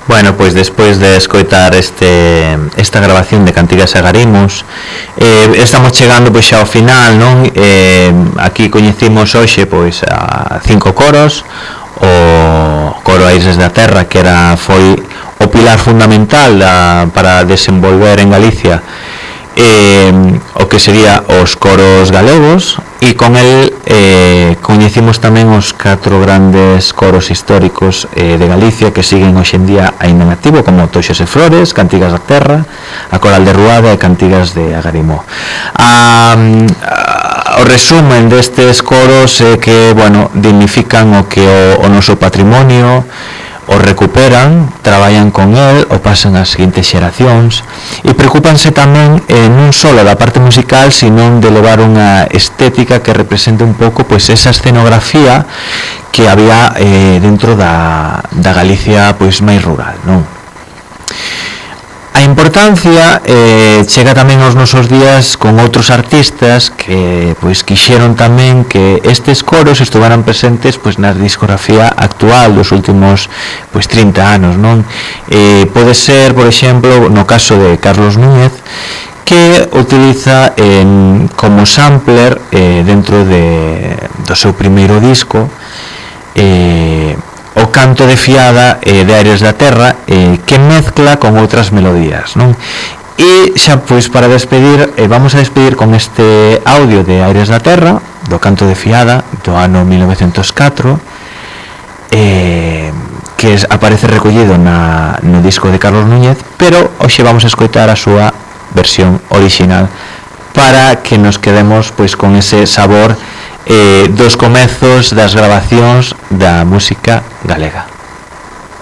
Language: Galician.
Bueno, pois despois de escoitar esta grabación de Cantigas e Agarimos, estamos chegando pois xa ao final, non? Aquí coñecimos hoxe pois a 5 coros, o coro Aires da Terra, que foi o pilar fundamental para desenvolver en Galicia o que sería os coros galegos, e con el coñecimos tamén os 4 grandes coros históricos de Galicia que siguen hoxe en día aínda en activo, como Toxos e Flores, Cantigas da Terra, a Coral de Ruada e Cantigas de Agarimó. O resumen destes coros é que, bueno, dignifican o que o noso patrimonio, o recuperan, traballan con el, o pasan ás seguintes xeracións e preocupanse tamén non só da parte musical, sino de levar unha estética que represente un pouco pois esa escenografía que había dentro da Galicia pois máis rural, non? A importancia chega tamén aos nosos días con outros artistas que pois quixeron tamén que estes coros estuveran presentes pois na discografía actual dos últimos pois 30 anos, non? Pode ser, por exemplo, no caso de Carlos Núñez, que utiliza como sampler dentro do seu primeiro disco o canto de fiada de Aires da Terra, que mezcla con outras melodías, non? E xa pois para despedir, vamos a despedir con este audio de Aires da Terra, do canto de fiada do ano 1904, que aparece recollido no disco de Carlos Núñez, pero hoxe vamos a escoitar a súa versión original para que nos quedemos pois con ese sabor dos comezos das grabacións da música galega.